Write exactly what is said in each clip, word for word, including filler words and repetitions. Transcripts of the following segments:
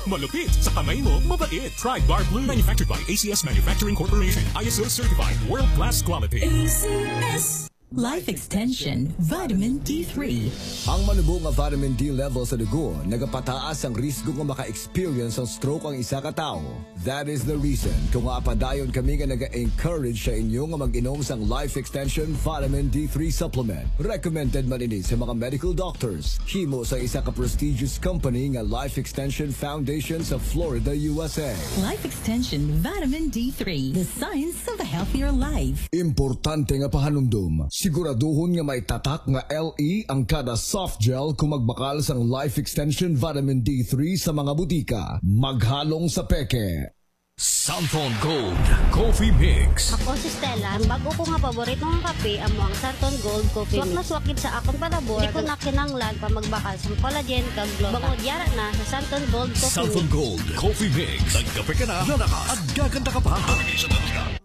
Malupit sa kamay mo, mabait. Pride Bar Blue. Manufactured by A C S Manufacturing Corporation. I S O certified. World class quality. A C S. Life Extension Vitamin D three. Ang manubo nga vitamin D level sa dugo nagapataas ang risgo nga maka-experience sang stroke ang isa ka tawo. That is the reason kung nga padayon kami nga naga-encourage sa inyo nga mag-inom sang Life Extension Vitamin D three Supplement. Recommended man ini sa mga medical doctors. Himo sa isa ka prestigious company nga Life Extension Foundation sa Florida, U S A. Life Extension Vitamin D three, the science of a healthier life. Importante nga pahanumdom, siguraduhon nga may tatak nga L E ang kada soft gel kung magbakal sang Life Extension Vitamin D three sa mga butika. Maghalong sa peke. Santon Gold Coffee Mix. Ako si Stella. Ang bag-o ko nga paborito nga kape amo ang Santon Gold Coffee Swak na Mix. Swak gid sa akon palabor. Di ko na kinahanglan pa magbakal sang collagen kag gluta. Bangod yara na sa Santon Gold Coffee Santon Mix. Gold Coffee Mix. Nagkape ka na, lalakas, at gaganda ka pa.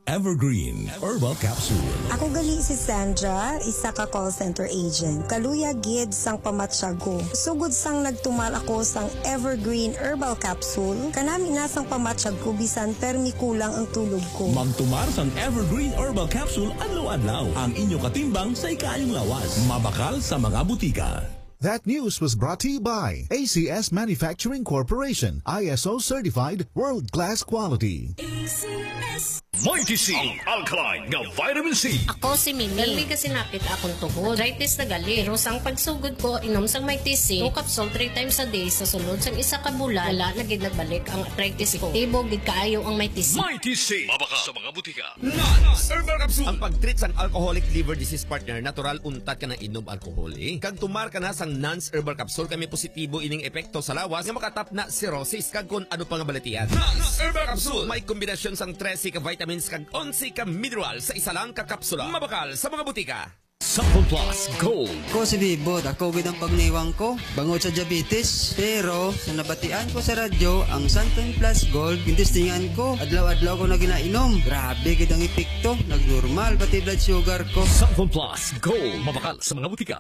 Evergreen Herbal Capsule. Ako gali si Sandra, isa ka call center agent. Kaluya gid sang pamatyag ko. Sugod sang nagtumar ako sang Evergreen Herbal Capsule, kanami na sang pamatyag ko bisan permi kulang ang tulog ko. Magtumar sang Evergreen Herbal Capsule adlaw-adlaw. Ang inyo katimbang sa ikaayong lawas. Mabakal sa mga butika. That news was brought to you by A C S Manufacturing Corporation, I S O certified, world-class quality. A C S. Mighty C, ang alkaline nga vitamin C. Ako si Mimi. Gali ka sinapit akong tuhod. Arthritis na gali. Pero sang pagsugod ko, inom sang Mighty C, two capsule three times a day sa sulod sang isa ka bulan, wala na gid nagbalik ang arthritis ko. Epektibo gid kaayo ang Mighty C. Mighty C. Mabakal sa mga butika. Nans Herbal Capsule. Ang pag-treat sang alcoholic liver disease, partner, natural untat ka na inom alcohol, eh. Kag tumar ka na sang Nans Herbal Capsule, kay may positibo ining epekto sa lawas nga makatapna cirrhosis kag kon ano pa nga balatian. Nans Herbal Capsule. May kombinasyon sang trese ka vitamins kag onse ka mineral sa isa lang ka kapsula. Mabakal sa mga butika. Santon Plus Gold. Ko si Bibot, ako gid ang pagniwang ko bangod sa diabetes. Pero sa nabatian ko sa radyo, ang Santon Plus Gold, gintestingan ko. Adlaw-adlaw ko na ginainom. Grabe gid ang epekto. Nagnormal pati blood sugar ko. Santon Plus Gold. Mabakal sa mga butika.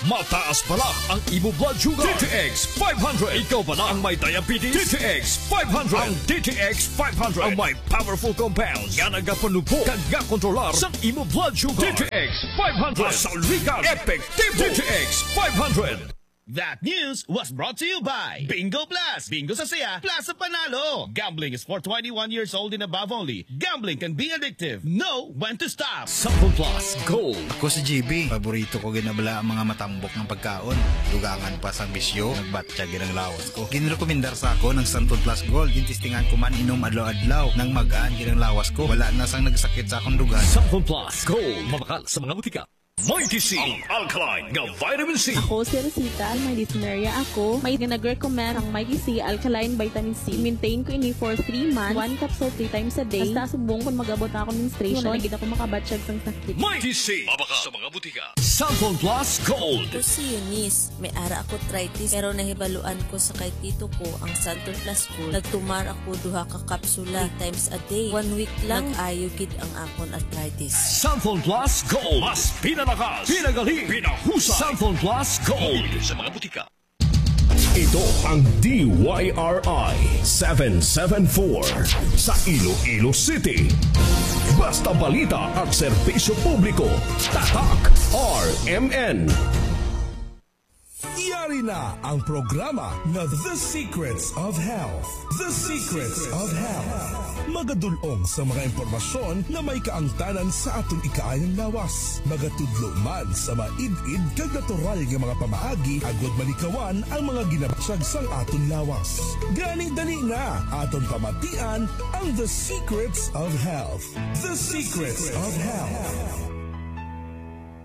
Mataas bala ang imo blood sugar. D T X five hundred. Ikaw bala ang may diabetes? D T X five hundred. Ang D T X five hundred ang may powerful compounds nga nagapanubo kag nga kontrolar sa imo blood sugar. D T X five hundred. Masaligan, epektibo. D T X five hundred. That news was brought to you by Bingo Plus. Bingo sa saya, plus sa panalo. Gambling is for twenty-one years old and above only. Gambling can be addictive. Know when to stop. Santon Plus Gold. Ako si G B. Paborito ko gid na bala ang mga matambok nga pagkaon. Dugangan pa sang bisyo, nagbatyag gid ang lawas ko. Ginrekomendar sa ako ng Santon Plus Gold. Gintestingan ko man inom adlaw-adlaw. Nang magaan gid ang lawas ko. Wala na sang nagsakit sa akong dugan. Santon Plus Gold. Mabakal sa mga butika. Mighty C, ang alkaline nga vitamin C. Ako si Rosita, may dysmenorrhea ako. May nag-recommend ang Mighty C Alkaline Vitamin C. Maintain ko ini for three months, one capsule three times a day. Hasta subong kung mag-abot na ako menstruation, Wala na gid ako makabatyag sang sakit. Mighty C, mabakal sa mga butika. Santon Plus Gold. Ako si Eunice. May ara ako arthritis, pero nahibaluan ko sa kay tito ko ang Santon Plus Gold. Nagtumar ako duha ka kapsula three times a day. One week lang, nag-ayo gid ang akon arthritis. Santon Plus Gold. Mas pinalakas, pinagali, pinahusay. Santon Plus Gold. Sa mga butika. Ito ang D Y R I seven seven four sa Iloilo City. Basta balita at serbisyo publiko, Tatak R M N. Yari na ang programa nga The Secrets of Health. The Secrets of Health. Magadul-ong sa mga impormasyon nga may kaangtanan sa aton ikaayong lawas. Magatudlo man sa maid-id kag natural nga mga pamaagi agud malikawan ang mga ginabatyag sang aton lawas. Gani, dali na, aton pamatian ang The Secrets of Health. The Secrets of Health.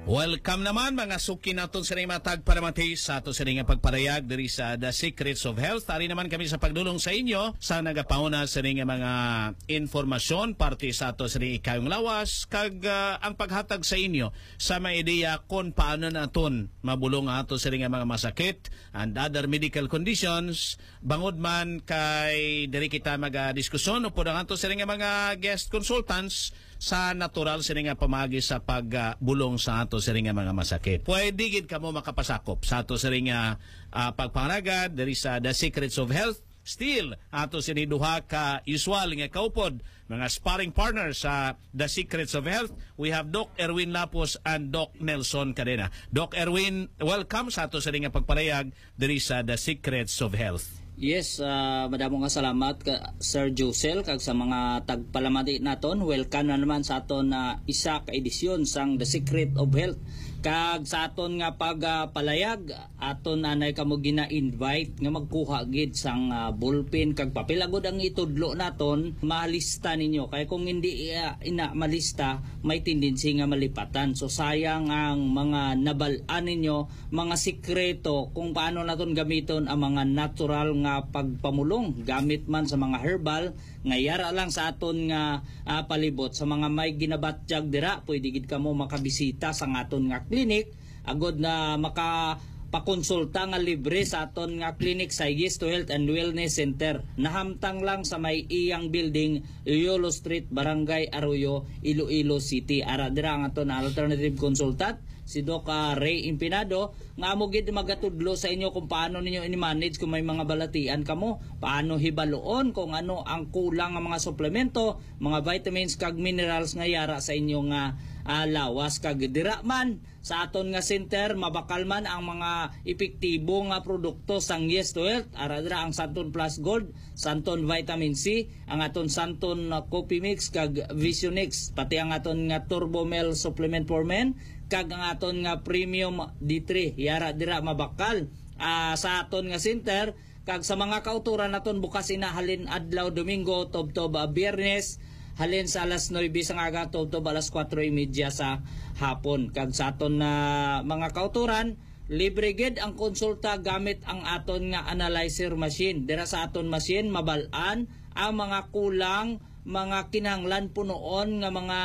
Welcome naman, mga suki naton sa mga tagparamati sa ato sa nga pagparayag diri sa The Secrets of Health. Ari naman kami sa pagdulong sa inyo sa nagapauna sa nga mga informasyon parte sa ato sa ikayong lawas kag, ah, ang paghatag sa inyo sa mga ideya kung paano naton mabulong ang ato sa nga mga masakit and other medical conditions. Bangod man kay diri kita magadiskusyon upod ang ato sa nga mga guest consultants sa natural sini nga pamaagi sa pagbulong sa ato sini nga mga masakit. Pwede gid kamo makapasakop sa ato sini nga, ah, pagpangalagad diri sa The Secrets of Health. Still, ato sini duha ka usual nga kaupod, mga sparring partners sa The Secrets of Health. We have Doc Erwin Lapus and Doc Nelson Cadena. Doc Erwin, welcome sa ato sini nga pagpalayag diri sa The Secrets of Health. Yes, ah, madamo nga salamat ka, Sir Josel, kag sa mga tagpalamati naton. Welcome na naman sa aton na isa ka edisyon sang The Secret of Health. Kag sa aton nga pagpalayag, aton anay kamo gina-invite nga magkuha gid sang, ah, ballpen kag papel, agod ang itudlo naton malista ninyo. Kay kung hindi, ah, ina malista, may tendency nga malipatan. So, sayang ang mga nabal-an ninyo, mga sikreto kung paano naton gamiton ang mga natural nga pagpamulong, gamit man sa mga herbal nga yara lang sa aton nga, ah, palibot. Sa mga may ginabatyag dira, pwede gid kamo makabisita sa aton nga clinic, agod na makapakonsulta nga libre sa aton nga clinic sa Yes to Health and Wellness Center. Nahamtang lang sa may iyang building, Yolo Street, Barangay Arroyo, Iloilo City. Ara dira ang aton alternative consultant, si Doc, ah, Ray Impinado, nga amo gid magatudlo sa inyo kung paano ninyo ini-manage kung may mga balatian kamo, paano hibaluon kung ano ang kulang nga mga suplemento, mga vitamins kag minerals nga yara sa inyo nga, ah, lawas. Kag dira man sa aton nga center, mabakal man ang mga epektibo nga produkto sang Yes to Health. Ara dira ang Santon Plus Gold, Santon Vitamin C, ang aton Santon, uh, Coffee Mix kag Vision X, pati ang aton nga Turbo Mel Supplement for Men kag ang aton nga Premium D three. Yara dira mabakal, ah, sa aton nga center, kag sa mga kautoran naton bukas ina halin adlaw Domingo tubtob, ah, Biyernes, halin sa alas nuebe sang aga tubtob alas kuwatro y media sa hapon. Kag sa aton na mga kautoran, libre gid ang konsulta gamit ang aton nga analyzer machine. Dira sa aton machine, mabal-an ang mga kulang, mga kinahanglan punoon nga mga,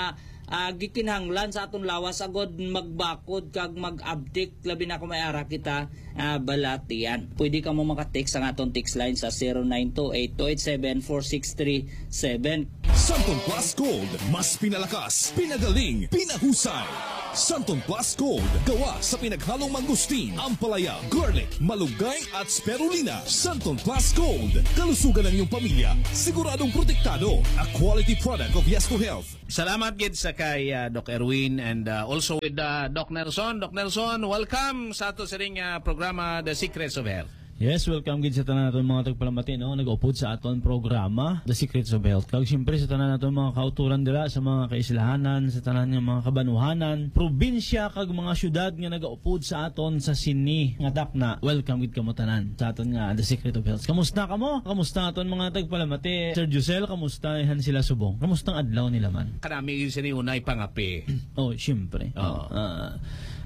ah, gikinahanglan sa aton lawas agod magbakod kag mag-abtik, labi na kung may ara kita, ah, balatian. Pwede kamo maka-text sa aton text line sa zero nine two eight two eight seven four six three seven. Santon Plus Gold, mas pinalakas, pinagaling, pinahusay. Santon Plus Gold, gawa sa pinaghalong mangustin, ampalaya, garlic, malunggay, at spirulina. Santon Plus Gold, kalusugan ng iyong pamilya, siguradong protektado. A quality product of Yes to Health. Salamat gid sa kay, ah, Doc Erwin and, ah, also with, ah, Doc Nelson. Doc Nelson, welcome sa ato sining, ah, programa, The Secrets of Health. Yes, welcome gid sa tanan naton mga tagpalamati, no, nag-upod sa aton programa, The Secrets of Health. Kag siyempre sa tanan naton mga kauturan dira sa mga kaislahanan, sa tanan nga mga kabanuhanan, probinsya kag mga syudad nga nag-upod sa aton sa sini nga takna. Welcome gid kamo tanan sa aton nga The Secret of Health. Kamusta kamo? Kamusta aton mga tagpalamati? Sir Josel, kamusta han sila subong? Kamusta ang adlaw nila man? Kanami gid sini unay pangapi. Oh, siyempre. Oo. Ah,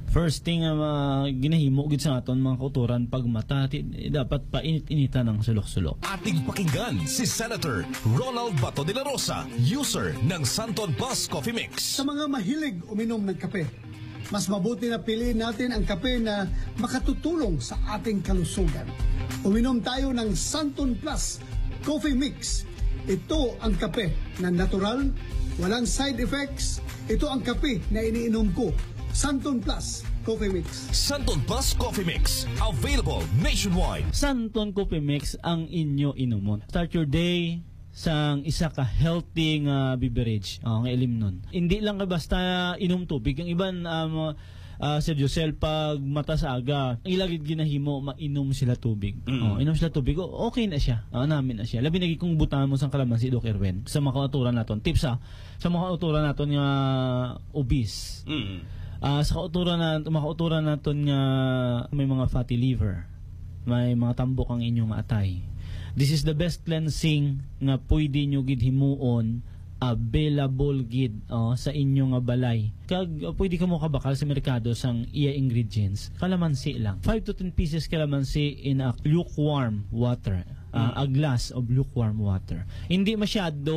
first thing nga ma-, ginahimo gid sa aton mga kauturan pag mata, ti-, dapat painit-initan ang sulok-sulok. Ating pakinggan si Senator Ronald Bato de la Rosa, user ng Santon Plus Coffee Mix. Sa mga mahilig uminom ng kape, mas mabuti na piliin natin ang kape na makatutulong sa ating kalusugan. Uminom tayo ng Santon Plus Coffee Mix. Ito ang kape na natural, walang side effects. Ito ang kape na iniinom ko, Santon Plus Coffee Mix. Santon Plus Coffee Mix, available nationwide. Santon Coffee Mix ang inyo inumon. Start your day sang isa ka healthy nga beverage, oh, nga ilimnon. Hindi lang ka basta inom tubig. Ang iban, um, ah, Sir Josel, pag mata sa aga, ang ila gid ginahimo, mainom sila tubig. Mm. Oh, inom sila tubig, o-, okay na siya. Ah, namin na siya. Labi na gid kung butangan mo sang kalamansi, Doc Erwin. Sa mga kauturan naton. Tips, ah, sa mga kauturan naton nga obese. Mm. Ah, sa kauturan na, mga kauturan naton nga may mga fatty liver, may mga tambok ang inyong atay. This is the best cleansing nga pwede nyo gid himuon, available gid, oh, sa inyo nga balay. Kag, uh, pwede kamo kabakal sa merkado sang iya ingredients. Kalamansi lang. Five to ten pieces kalamansi in a lukewarm water. Ah, Mm. a glass of lukewarm water. Hindi masyado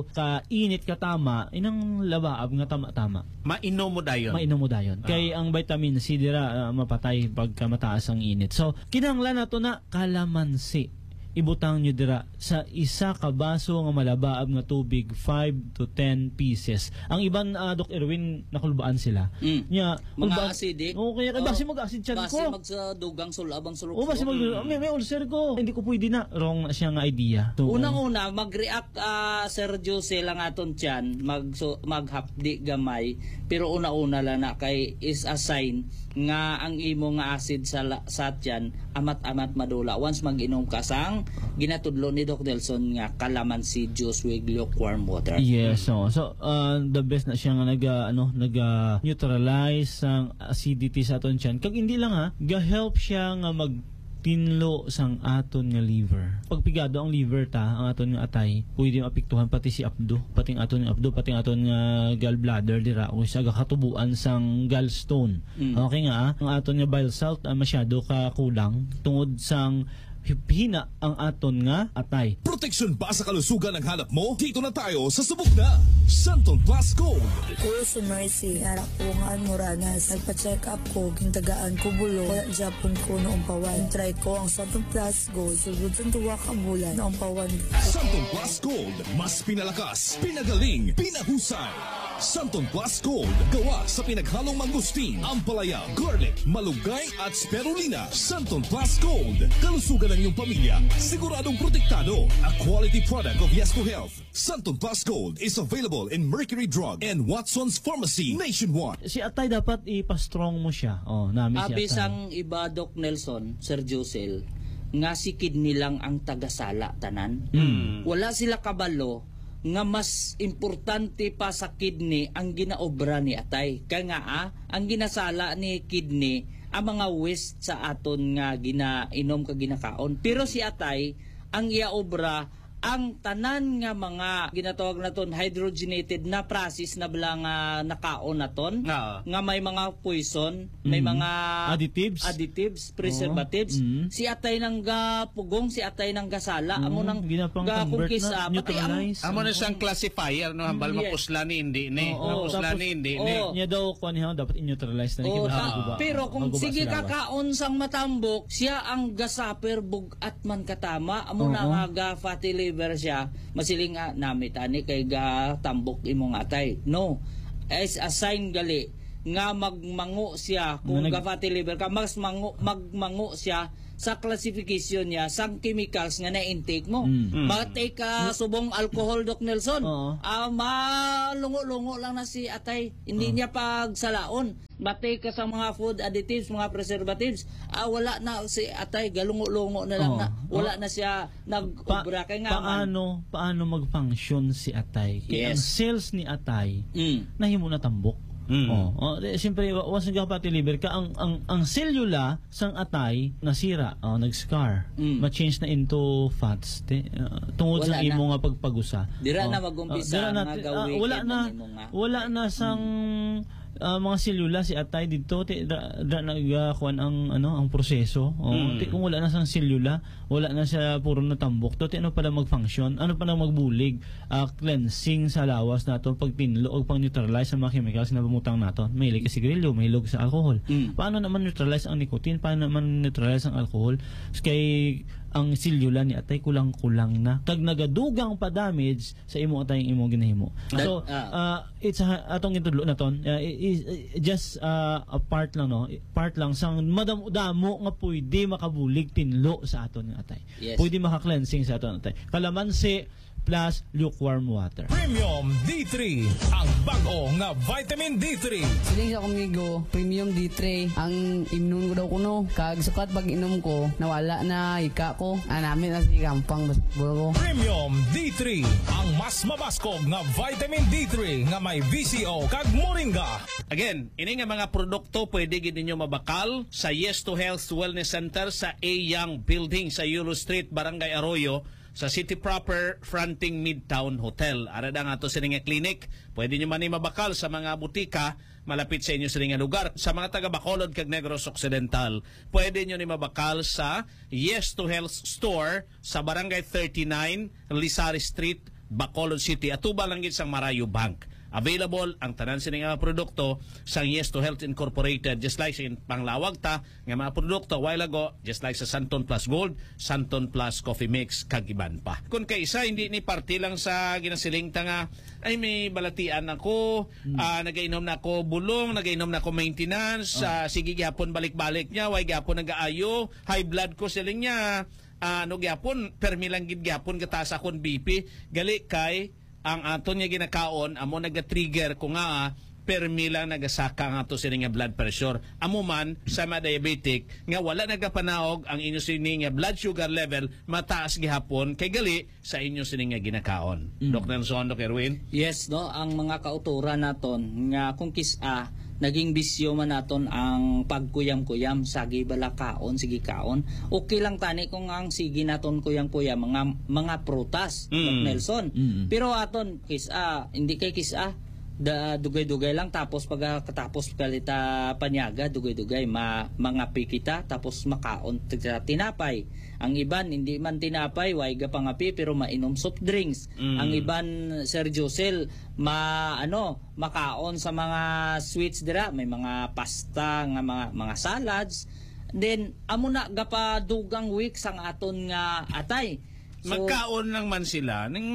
ka init, ka tama, inang labaab nga tama-tama. Mainom mo dayon. Mainom mo dayon. Ah. Kay ang vitamin C dira, ah, mapatay pagka mataas ang init. So, kinahanglan nato na kalamansi. ibutang nyo dira sa isa ka baso nga malabaab nga tubig, five to ten pieces. Ang iban, ah, Doc Erwin, nakulbaan sila. Mm. Nya, Mga kulba-, acidic. Oo, kaya, kaya basi mag-acid tiyan ko. Basi magsa dugang sulab ang sulok-sulok. Oo, basi mag-, Mm. may, may ulcer ko. Hindi ko pwede na. Wrong na siya nga idea. So, Unang-una, mag-react, ah, Sir Jose, lang aton tiyan, mag-, so, maghapdi gamay, pero una-una lang na kay is a sign nga ang imo nga acid sa la-, sa tiyan amat-amat madula once mag-inom ka sang ginatudlo ni Doc Nelson nga calamansi juice with lukewarm water. Yes, Mm. so, so, uh, the best na siya nga nag, uh, ano, nag, uh, neutralize sang acidity sa aton tiyan. Kag hindi lang, ha, ga-help siya nga magtinlo sang aton nga liver. Pag pigado ang liver ta, ang aton nga atay, pwede maapektuhan pati si apdo, pati ang aton nga apdo, pati ang aton nga gallbladder dira, o sa gakatubuan sang gallstone. Mm. Okay nga, ah, ang aton nga bile salt, ah, masyado ka kulang tungod sang hina ang aton nga atay. Proteksyon ba sa kalusugan ang hanap mo? Dito na tayo sa Subok Na, Santon Plus Gold. Kuya si Mercy, anak ko nga Moranas. Nagpa-check up ko, gintagaan ko bulong. Wala gyapon ko naumpawan. Try ko ang Santon Plus Gold. Sugod sa duwa ka bulan, naumpawan. Santon Plus Gold, mas pinalakas, pinagaling, pinahusay. Santon Plus Gold, gawa sa pinaghalong mangustin, ampalaya, garlic, malunggay, at spirulina. Santon Plus Gold, kalusugan ng iyong pamilya, siguradong protektado. A quality product of Yes to Health. Santon Plus Gold is available in Mercury Drug and Watson's Pharmacy nationwide. Si atay dapat ipa-strong mo siya. Oh, nami si Abi atay. Sang iba, Doc Nelson, Sir Josel, nga si kidney lang ang tagasala tanan. Mm. Wala sila kabalo nga mas importante pa sa kidney ang ginaobra ni atay. Kaya nga, ah, ang ginasala ni kidney ang mga waste sa aton nga ginainom kag ginakaon. Pero si atay, ang iya obra, ang tanan nga mga ginatawag naton hydrogenated na process na bala nga nakaon naton, Oo. nga may mga poison, may Mm. mga Additives? additives, preservatives. Oo. Mm. Si atay nang gapugong, si atay nang gasala, amo Mm. nang Ginapang ga-convert na, kung kiss up, patay ang neutralize. Amo na siyang classifier, no? Hambal, Yes. mapusla ni, hindi ni. Oo. Mapusla Tapos, ni, hindi ni. oo. Niya daw, kuwan niya, dapat i-neutralize na Oo, kita. ta-, Maguba. pero kung Maguba sige sa lawas. Kakaon sang matambok, siya ang gasaper, bug-at man katama, amo na Oo. nga ga-fatty liver siya, masiling nga, "Namit ani kay gatambok imong atay." No. Is a sign gali nga magmango siya kung Nga nag- ga-fatty liver ka, mas mango, magmango siya sa classification niya sang chemicals nga na-intake mo. Mm. Mm. Matay ka subong alcohol, Doc Nelson. Oo. Ah, malungo-lungo lang na si atay. Hindi Oo. niya pagsalaon. Matay ka sa mga food additives, mga preservatives. Ah, wala na si atay, galungo-lungo na lang Oo. na. Wala Oo. na siya nag-obra. Pa-, Kay nga man. paano, paano mag-function si atay? Kay ang Yes. cells ni atay, Mm. nahimo na tambok. Mm. Oh, oh, di, siyempre, wa-, once nagka-fatty liver ka, ang, ang, ang selula sang atay nasira, oh, nag-scar. Mm. Ma-change na into fats, te, ah, tungod Wala sa na. imo nga pagpagusa. Dira Oh, na mag-umpisa ah, dira na, nga ah, ga-weaken wala na, ang imo nga wala atay. na sang, Mm. ah, mga selula si atay dito, te, da, da, nag, ah, kuwan ang, ano, ang proseso. Oh, Mm. te, kung wala na sang selula, wala na siya puro natambok to, ti ano pala mag-function? Ano pala magbulig? Ah, cleansing sa lawas nato, pagtinlo o pang-neutralize sa mga chemicals na bumutang nato. Mahilig ka sigarilyo, mahilig sa alcohol. Mm. Paano naman neutralize ang nicotine? Paano naman neutralize ang alcohol? Kay ang selula ni atay kulang-kulang na. Kag nagadugang pa damage sa imo atay ang imo ginahimo. That, So, ah. ah, it's a, atong gintudlo naton. Ah, i-, i-, just, ah, a part lang, no? Part lang sang madamo-damo nga pwede makabulig tinlo sa aton nga atay. Yes. Pwede maka-cleansing sa aton atay. Kalamansi plus lukewarm water. Premium D three, ang bag-o nga vitamin D three. Siling sa kumigo, Premium D three ang imnon ko daw kuno. Kag sukat pag-inom ko, nawala na ika ko. Anami na si Kampang basketball ko. Premium D three, ang mas mabaskog nga vitamin D three nga may V C O kag moringa. Again, ini nga mga produkto pwede gid ninyo mabakal sa Yes to Health Wellness Center sa A Young Building sa Yulo Street, Barangay Arroyo, sa City Proper, fronting Midtown Hotel. Ara da nga ato sini nga clinic. Pwede nyo man ni mabakal sa mga butika malapit sa inyo sini nga lugar. Sa mga taga Bacolod kag Negros Occidental, pwede nyo ni mabakal sa Yes to Health Store sa Barangay thirty-nine, Lisari Street, Bacolod City. Atuba lang gid sang Marayo Bank. Available ang tanan sini nga produkto sang Yes to Health Incorporated, just like sa panglawag ta nga mga produkto a while ago, just like sa Santon Plus Gold, Santon Plus Coffee Mix, kag iban pa. Kung kaisa, hindi ni parte lang sa ginasiling ta nga, "Ay, may balatian ako, ah, nagainom na ako bulong, nagainom na ako maintenance, ah, sige gyapon balik-balik niya, way gyapon nagaayo, high blood ko," siling niya, ah, ano gyapon, permi lang gid gyapon gataas akon B P, gali kay ang aton nga ginakaon amo naga-trigger ko nga, ah, permi lang nagasaka ang ato sini nga blood pressure. Amo man sa mga diabetic nga wala nagapanaog ang inyo sini nga blood sugar level, mataas gihapon kay gali sa inyo sini nga ginakaon. Mm. Doc Nelson, Doc Erwin? Yes, no, ang mga kauturan naton nga kung kis-a naging bisyo man naton ang pagkuyam-kuyam, sagi bala kaon, sige kaon. Okay lang tani kung ang sige naton kuyam-kuyam mga, mga prutas, Mm. Doc Nelson. Mm. Pero aton kis-a, hindi kay kis-a, da, dugay-dugay lang, tapos pagkatapos kalita panyaga, dugay-dugay, ma, mangapi kita, tapos makaon kita tinapay. Ang iban, hindi man tinapay, way ga pangapi, pero mainom soft drinks. Mm. Ang iban, Sir Josel, ma, ano, makaon sa mga sweets dira, may mga pasta nga mga, mga salads. Then, amo na gapadugang week sang aton nga atay. So, magkaon lang man sila ning,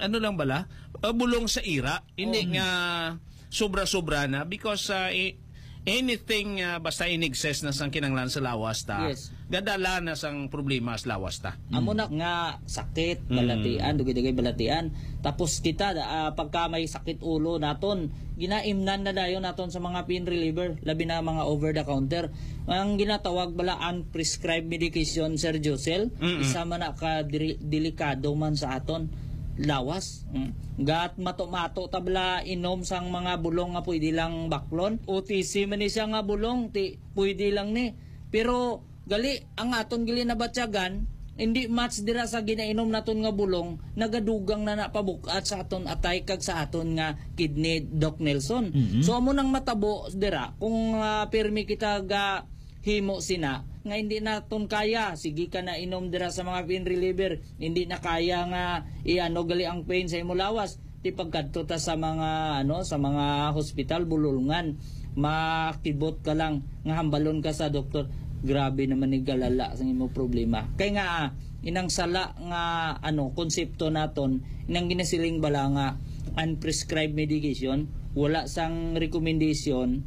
ano lang bala, ah, bulong sa ira, hindi Oh. nga sobra-sobra na because, ah, i-, anything, ah, basta in excess na sang kinanglan sa lawas ta, Yes. gadala na sang problema sa lawas ta. Amo Mm. na nga sakit, Mm. balatian, dugay-dugay balatian. Tapos kita, ah, pagka may sakit ulo naton, ginaimnan na dayon naton sa mga pain reliever, labi na mga over the counter. Ang ginatawag bala unprescribed medication, Sir Josel, Mm-mm. isa man na ka diri-, delikado man sa aton lawas. Mm. Gat mato-mato ta bala inom sang mga bulong nga pwede lang baklon. O T C man ni siya nga bulong, ti, pwede lang ni. Pero gali, ang aton gali nabatyagan, hindi match dira sa ginainom naton nga bulong, nagadugang na napabuk-at sa aton atay kag sa aton nga kidney, Doc Nelson. Mhm. So, amo nang matabo dira, kung, ah, pirmi kita ga himo sina, nga hindi naton kaya, sige ka na inom dira sa mga pain reliever, hindi na kaya nga iano gali ang pain sa imo lawas, ti pagkadto ta sa mga, ano, sa mga hospital, bulolngan, makibot ka lang nga hambalon ka sa doktor, grabe naman ni galala sa imo problema. Kay nga, ah, inang sala nga, ano, konsepto naton, inang ginasiling bala nga unprescribed medication, wala sang recommendation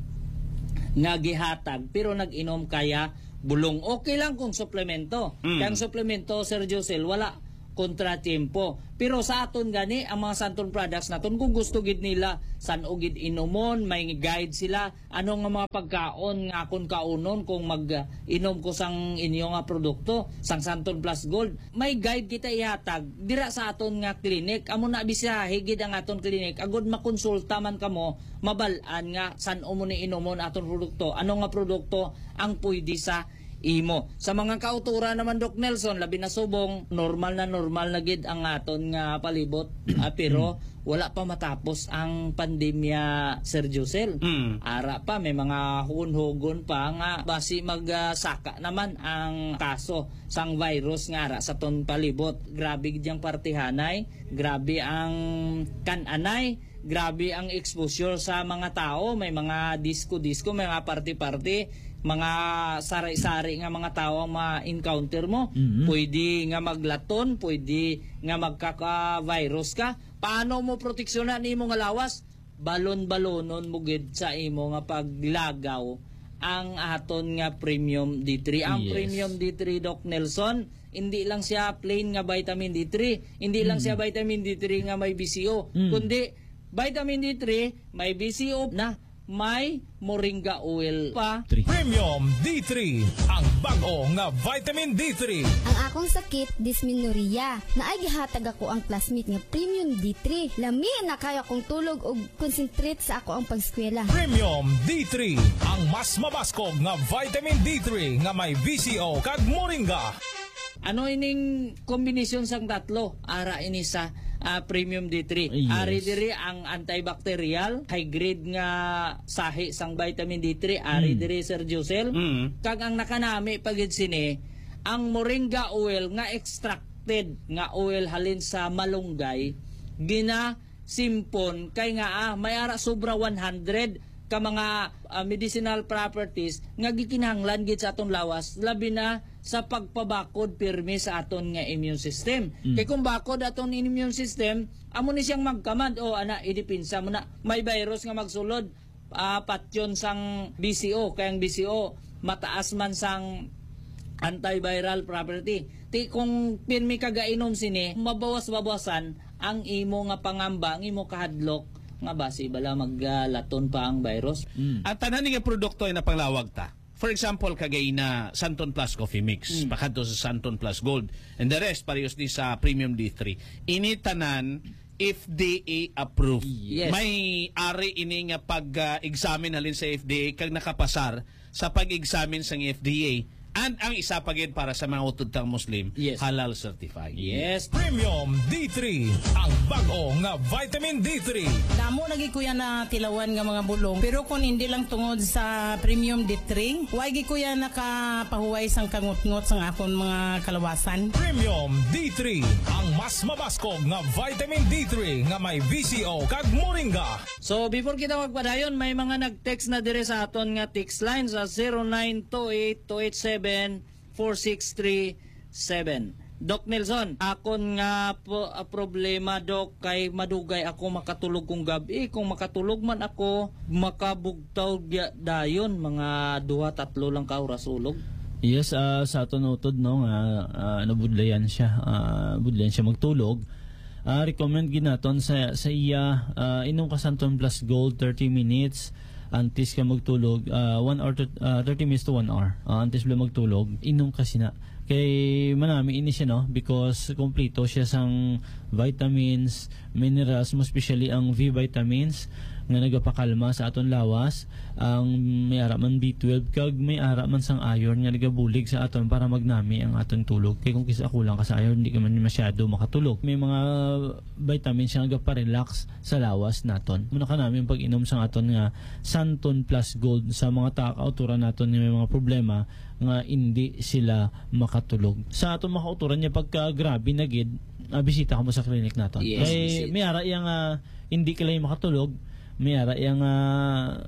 nga gihatag, pero nag-inom kaya bulong. Okay lang kung suplemento. Mm. Kay ang suplemento, Sir Josel, wala kontratiempo. Pero sa aton gani, ang mga Santon products naton, kung gusto gid nila, san-o gid inumon, may guide sila, ano nga mga pagkaon nga akon kaunon kung mag-inom ko sang inyo nga produkto, sang Santon Plus Gold. May guide kita ihatag dira sa aton nga clinic. Amo na, bisahi gid ang aton clinic, agud makonsulta man kamo, mabal-an nga san-o mo ni inumon aton produkto, ano nga produkto ang pwede sa imo. Sa mga kauturan naman, Doc Nelson, labi na subong, normal na normal na gid ang aton nga palibot, ah, pero wala pa matapos ang pandemya, Sir Josel. Mm. Ara pa, may mga hugon-hugon pa nga basi mag, ah, saka naman ang kaso sang virus nga ara sa aton palibot. Grabe gid yang partihanay, grabe ang kan-anay, grabe ang exposure sa mga tao, may mga disco-disco, may mga party-party, mga sari-sari nga mga tao ang ma-encounter mo. Mhm. Pwede nga maglaton, pwede nga magkaka-virus ka. Paano mo proteksyonan nimo nga lawas? Balon-balonon mo gid sa imo nga paglagaw ang aton nga Premium D three. Ang Yes. Premium D three, Doc Nelson, hindi lang siya plain nga vitamin D three, hindi lang Mm. siya vitamin D three nga may B C O, Mm. kundi vitamin D three, may B C O na, may moringa oil pa. Three. Premium D three, ang bag-o nga vitamin D three. Ang akong sakit, dysmenorrhea. Naay gihatag ako ang classmate nga Premium D three. Lami na kaya kong tulog ug concentrate sa ako ang pag-eskwela. Premium D three, ang mas mabaskog nga vitamin D three nga may V C O kag moringa. Ano ining kombinasyon sang tatlo? Ara ini sa, ah, Premium D three. Yes. Ari diri ang antibacterial, high grade nga sahi sang vitamin D three. Ari Mm. diri, Sir Josel. Mm. Kag ang nakanami pa gid sini, ang moringa oil nga extracted nga oil halin sa malunggay, gina simpon kay nga, ah, may ara sobra one hundred ka mga, ah, medicinal properties nga gikinahanglan gid sa aton lawas, labi na sa pagpabakod pirmi sa aton nga immune system. Mm. Kay kung bakod aton immune system, amo ni siyang magkamad, o ana, idepensa mo na. May virus nga magsulod, ah, patyon sang B C O, kay ang B C O mataas man sang antiviral property. Ti kung pirmi ka gainom sini, mabawas-bawasan ang imo nga pangamba, ang imo kahadlok nga basi bala maglaton pa ang virus. Mm. Ang tanan nga produkto ay napanglawag ta. For example, kagay na Santon Plus Coffee Mix, Mm. pakadto sa Santon Plus Gold, and the rest, parehas ni sa Premium D three. Ini tanan F D A approved. Yes. May ari ini nga pag-examine halin sa F D A kag nakapasar sa pag-examine sang F D A. And ang isa pa gid para sa mga utod tang Muslim, Yes. halal certified. Yes. Premium D three, ang bag-o nga vitamin D three. Damo na gid, kuya, na tilawan nga mga bulong. Pero kung hindi lang tungod sa Premium D three, wa gid, kuya, nakapahuway sang kangutngot sang akon mga kalawasan. Premium D three, ang mas mabaskog nga vitamin D three nga may V C O kag moringa. So, before kita magpadayon, may mga nag-text na dire sa aton nga text line sa zero nine two eight two eight seven four six three seven. Doc Nelson, akon nga po, ah, problema, Doc, kay madugay ako makatulog kung gabi. Kung makatulog man ako, makabugtaw gya-, dayon, mga duha, tatlo lang ka oras ulog. Yes, ah, sa aton utod, no, nga, ah, nabudlayan siya, ah, budlayan siya magtulog. Ah, recommend gid naton sa, sa iya, ah, inom ka Santon Plus Gold, thirty minutes antes ka magtulog, ah, one hour to, ah, thirty minutes to one hour, ah, antes bala magtulog, inom ka sina. Kay manami ini siya, no, because kompleto siya sang vitamins, minerals, mo especially ang V vitamins nga nagapakalma sa aton lawas, ang may ara man B twelve kag may ara man sang iron nga nagabulig sa aton para magnami ang aton tulog. Kay kung kis-a kulang ka sa iron, di ka man masyado makatulog. May mga vitamins siya nga gaparelax sa lawas naton. Muna ka namin pag-inom sang aton nga Santon Plus Gold sa mga ta-, kauturan naton nga may mga problema nga hindi sila makatulog. Sa aton mga kauturan niya, pagka grabe na gid, ah, bisita ka mo sa clinic naton. Yes, Kay bisita. may ara iya nga hindi ka lang makatulog, may ara iya nga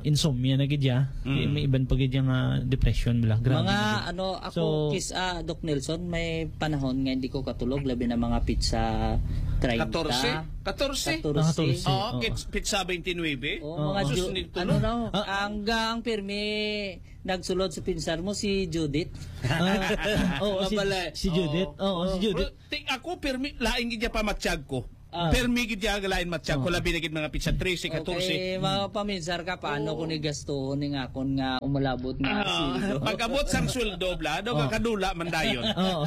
insomnia na gid ya. Mm. May iban pa gid ya nga depression bala. Grabe Mga na gid. ano, ako, So, kis-, ah, Doc Nelson, may panahon nga hindi ko katulog, labi na mga pitsa treinta. Katorse? Katorse? Katorse. Ah, katorse. Oo, Oo. kits-, pitsa twenty-nine. Oh, Oo. mga Sus, Ju-, hindi ano tulog. na, Ah. ang, ang pirmi nagsulod sa pinsar mo, si Judith. Ah, oo, si, Mabalay. si Judith. Oo. Oo, si Oo. Judith. Pero, ti-, ako, pirmi, lain gid ya pa matsyag ko. Ah. Pirmi gid ya lain matsyag ko, Oo. labi na gid mga pitsa trese, katorse. Okay, mapaminsar ka, paano Oo. ko ni gastuhon ning akon nga umalabot nga Ah, sweldo? pag-abot sang sweldo, bla, daw Oo. kakadula man dayon. Oo.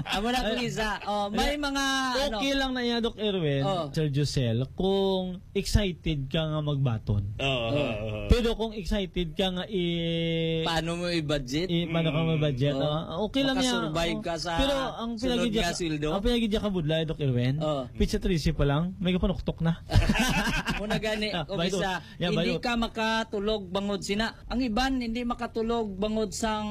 Amo na, Ay, Lisa. Oh, may mga, okay ano, lang na iya, Doc Erwin, Oh. Sir Josel, kung excited ka nga magbaton. Oo, Oh. oo, oo. Pero kung excited ka nga i- Paano mo i-budget? i-, paano ka Mm. ma-budget, Oh. oh? Okay lang yan. Makasurvive Oh. ka sa Pero ang sunod pinagidya nga ka, sweldo? ang pinagidya ka budlay, Doc Erwin, Oh. pitsa trese pa lang, may kapanuktok na. Muna gani, Ah, kung bayo. isa, Yeah, hindi bayo. ka makatulog bangod sina. Ang iban, hindi makatulog bangod sang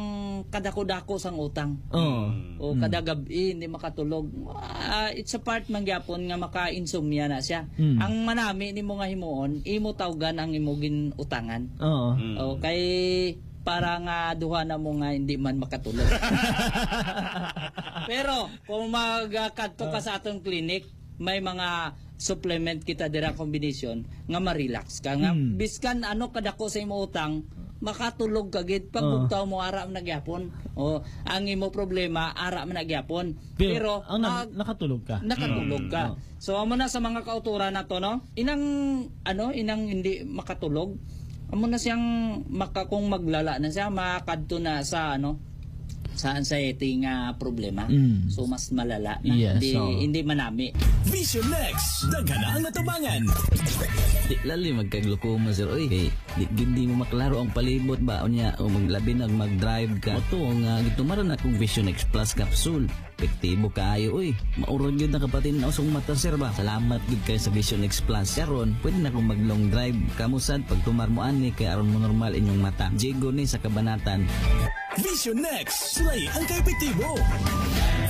kadako-dako sang utang. Oh. Mm. O Mm. kada gab-i, hindi makatulog. Ah, it's a part man gyapon nga maka-insomnia na siya. Mm. Ang manami nimo nga himuon, imo tawgan ang imo gin-utangan. Oo. Mm. O, kay para nga duha na mo nga hindi man makatulog. Pero kung magkadto ka Ah. sa atong clinic, may mga supplement kita dira, combination nga ma-relax ka nga Mm. biskan ano kadako sa imo utang, makatulog ka gid. Pag Oo. bugtaw mo, ara man na gyapon. O, ang imo problema, ara man na gyapon. Pero Pero ang nag-, mag-, nakatulog ka. nakatulog Mm. ka. Oo. So, amo na sa mga kauturan nato, no? Inang, ano, inang hindi makatulog. Amo na siyang maka-, kung maglala na siya, makadto na sa, ano, sa anxiety nga problema. Mm. So, mas malala na. Yes, Hindi, oo. hindi manami. Vision X, daghan ang natubangan. Di lalim magkaglukuma, sir. Uy, hey, di gid di mo maklaro ang palibot ba? Unya, o maglabi na mag-drive ka. Ato nga, gitumaran akong Vision X Plus capsule. Epektibo kaayo, uy. Maurag yun nakapatinaw sa mata, sir, ba? Salamat gid kay sa Vision X Plus. Karon, pwede na akong mag-long drive. Kamo sad, pagtumar mo ani, kay aron mo normal inyong mata. Jigo ni sa kabanatan. Vision X, sulay ang kaepektibo.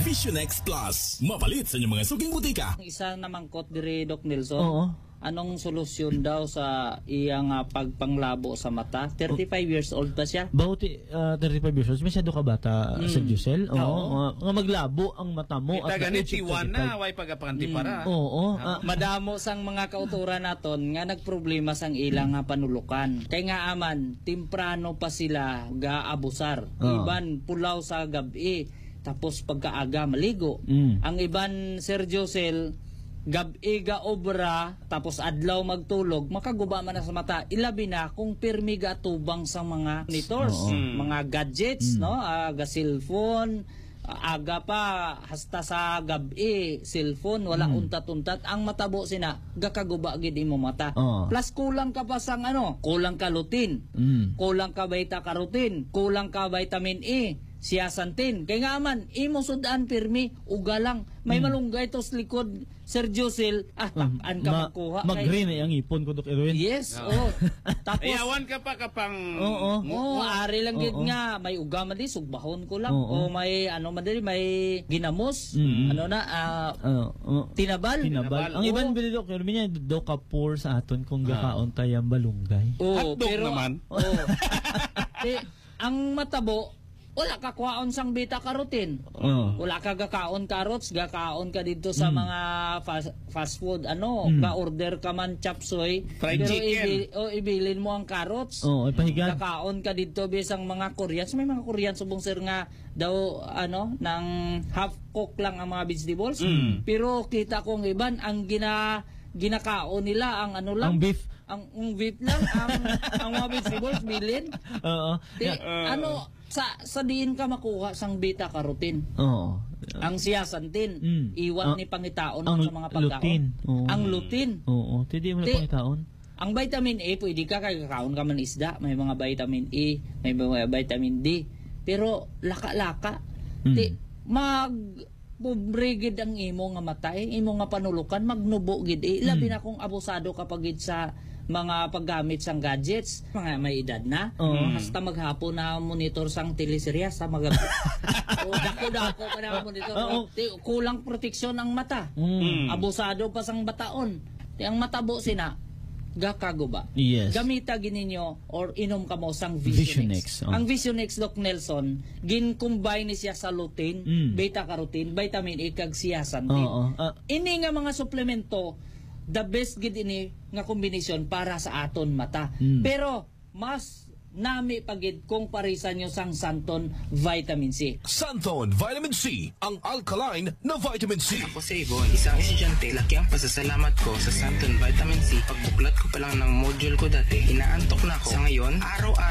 Vision X Plus, mapalit sa inyong mga suking butika. Ang isa namangkot diri, Doc Nelson, Oo. anong solusyon daw sa iyang, ah, pagpanglabo sa mata? Thirty-five years old pa siya. Bauti, ah, thirty-five years old, masyado ka bata, Mm. Sir Giselle. Oo, Oo. nga, nga maglabo ang mata mo Kita at the gani, age of tiwan na, thirty-five. Way pagapanti Mm. para. Oo, Ah, ah. madamo sang mga kauturan naton nga nagproblema sang ilang nga panulukan. Kay nga aman, temprano pa sila gaabusar. Oo. Iban pulaw sa gab-i, tapos pagkaaga maligo. Mm. Ang iban, Sir Josel, gab-i gaobra, tapos adlaw magtulog, makaguba man na sa mata. Ilabi na kung pirmi gatubang sa mga monitors, Oo. Mm. mga gadgets, Mm. no? Ah, ga-cellphone, aga pa, hasta sa gab-i, cellphone, wala Mm. untat-untat. Ang matabo sina, gakaguba gid imo mata. Oo. Plus, kulang ka pa sang ano, kulang ka lutein, Mm. kulang ka beta carotene, kulang ka vitamin E, zeaxanthin. Kay nga man, imo sud-an pirmi, uga lang. May Mm. malunggay to sa likod, Sir Josel, ah, Mm. tak-an ka Ma-, magkuha kay mag-green ay ang ipon ko, Doc Erwin. Yes, Oo. oh. Tapos, Ayawan ka pa ka pang Oo. mu-, Oo, mu- ari lang gid Oo. nga may uga man di, sugbahon ko lang. Oo. O may, ano man diri, may ginamos. Mm. Ano na, ah, Oo, oo. tinabal. Tinabal. Tinabal. Ang iban Oo. bili, Doc Erwin, niya, do ka poor sa aton kung Ah. gakaon tayo ang balunggay. Oo, Hotdog pero, naman. oo. Ti-, ang matabo, wala ka kwaon sang beta carotene. Oo. Wala ka gakaon carrots, gakaon ka dito sa Mm. mga fast, fast food, ano, Mm. ga-order ka man chop suey, Fried pero chicken. ibi-, o, ibilin mo ang carrots. Oo, ipahigan. Gakaon ka dito bisang mga Koreans. May mga Korean subong, sir, nga daw, ano, nang half cook lang ang mga vegetables. Mm. Pero kita ko ang iban, ang gina-, ginakaon nila, ang ano lang, Ang beef. ang, ang beef lang, ang, ang mga vegetables, bilin. Oo. Ti-, Yeah. ano, sa, sa diin ka makuha sang beta carotene? Oo. Ang zeaxanthin, Mm. iwat Ang, ni pangitaon ang sa mga pagkaon. lutein. Oo. Ang lutein. Oo. Ti di mo na Ti-, pangitaon. ang vitamin A, pwede ka kay kakaon ka man isda, may mga vitamin A, may mga vitamin D. Pero laka-laka. Mm. Ti, mag, pobre gid ang imo nga mata, eh, imo nga panulukan, magnubo gid, eh. Labi Mm. na kung abusado ka pa gid sa mga paggamit sang gadgets, mga may edad na. Oo. Mm. Hasta maghapon na monitor sang teleserye, hasta mag-, o, dako-dako pa na monitor. Oo. Ti, kulang proteksyon ang mata. Mm. Mm. Abusado pa sang bataon. Ti ang matabo sina, gakaguba. Yes. Gamita gid ninyo or inom kamo sang Vision Vision X. X, oh. Ang Vision X, Doc Nelson, gin-combine ni siya sa lutein, Mm. beta carotene, vitamin A, kag zeaxanthin. Oo, ah. Ini nga mga suplemento, the best gid ini nga kombinasyon para sa aton mata. Mm. Pero mas nami pa gid kung parisan nyo sang Santon Vitamin C. Santon Vitamin C, ang alkaline na vitamin C. Ako si Yvonne, isang estudyante. Laki ang pasasalamat ko sa Santon Vitamin C. Pagbuklat ko pa lang ng module ko dati, inaantok na ako. Sa ngayon, araw-araw